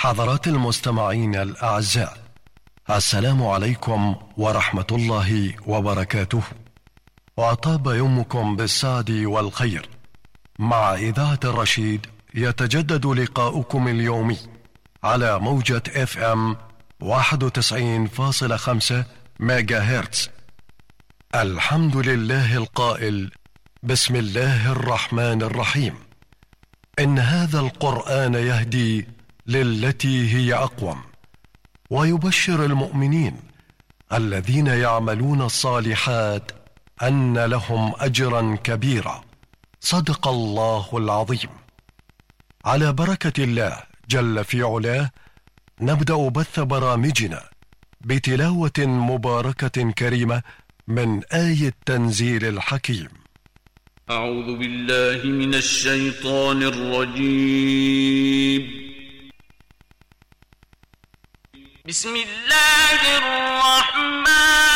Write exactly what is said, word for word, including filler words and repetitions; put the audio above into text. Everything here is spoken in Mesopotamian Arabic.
حضرات المستمعين الأعزاء، السلام عليكم ورحمة الله وبركاته، وأطاب يومكم بالسعد والخير. مع إذاعة الرشيد يتجدد لقاؤكم اليومي على موجة اف ام واحد وتسعين فاصلة خمسة ميجا هرتز. الحمد لله القائل: بسم الله الرحمن الرحيم، إن هذا القرآن يهدي للتي هي أقوم، ويبشر المؤمنين الذين يعملون الصالحات أن لهم أجرا كبيرا. صدق الله العظيم. على بركة الله جل في علاه نبدأ بث برامجنا بتلاوة مباركة كريمة من آية تنزيل الحكيم. أعوذ بالله من الشيطان الرجيم. بسم الله الرحمن